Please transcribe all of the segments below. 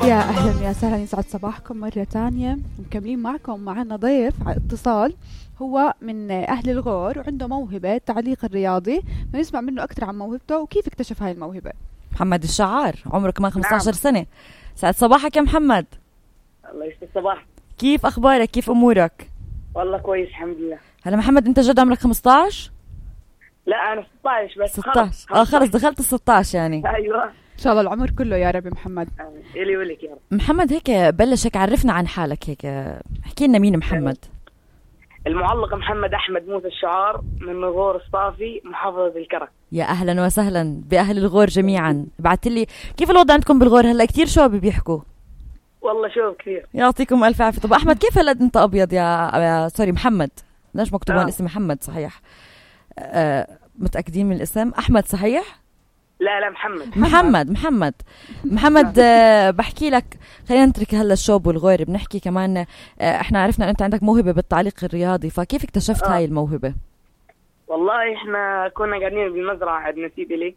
يا أهلا يا سهلا، يسعد صباحكم مرة تانية. مكملين معكم، معنا ضيف على اتصال، هو من أهل الغور وعنده موهبة تعليق الرياضي. بنسمع منه أكثر عن موهبته وكيف اكتشف هاي الموهبة. محمد الشعار، عمره كمان 15 سنة. سعد صباحك يا محمد. الله يسعد صباح. كيف أخبارك؟ كيف أمورك؟ والله كويس الحمد لله. هلا محمد، أنت جد عمرك 15؟ لا أنا 16 بس. 16. خلص دخلت 16 يعني. أيوة إن شاء الله العمر كله يا رب. محمد إلي ولك يا رب. محمد هيك بلش، هيك عرفنا عن حالك، هيك احكي لنا مين محمد. المعلق محمد أحمد موسى الشعار من غور الصافي محافظة الكرك. يا أهلا وسهلا بأهل الغور جميعا. بعت لي كيف الوضع عندكم بالغور هلا؟ كتير شباب بيحكوا. والله شوف كثير. يعطيكم ألف عافية. طب أحمد كيف هلا أنت أبيض يا سوري محمد؟ ليش مكتوبان اسم محمد صحيح؟ متأكدين من الاسم؟ أحمد صحيح؟ لا محمد. بحكي لك، خلينا نترك هلا الشوب والغور، بنحكي كمان. احنا عرفنا ان انت عندك موهبة بالتعليق الرياضي، فكيف اكتشفت هاي الموهبة؟ والله احنا كنا قاعدين بالمزرعة عند نسيب لي.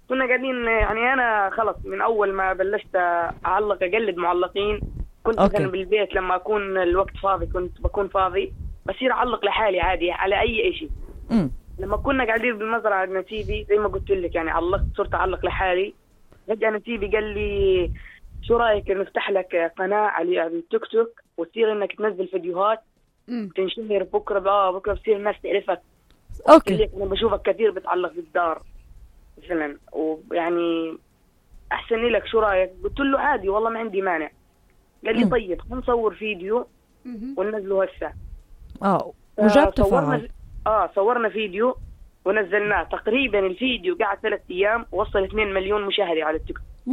كنا قاعدين يعني انا خلص من اول ما بلشت اعلق اقلد معلقين. كنت مثلا بالبيت لما اكون الوقت فاضي، كنت بكون فاضي بصير اعلق لحالي عادي على اي شيء. لما كنا قاعدين بالمزرعة عند نسيبي زي ما قلت لك يعني صرت اعلق لحالي. فجأة نسيبي قال لي شو رايك نفتح لك قناة على التيك توك وتصير انك تنزل فيديوهات تنشهر بكره بصير الناس تعرفك. اوكي. انا بشوفك كثير بتعلق بالدار مثلا، ويعني احسن لك، شو رايك؟ قلت له عادي والله ما عندي مانع. قال لي طيب نصور فيديو وننزله هسه. وجاب تفاعل. صورنا فيديو ونزلناه. تقريبا الفيديو قعد 3 أيام ووصل 2 مليون مشاهدة على التيك توك.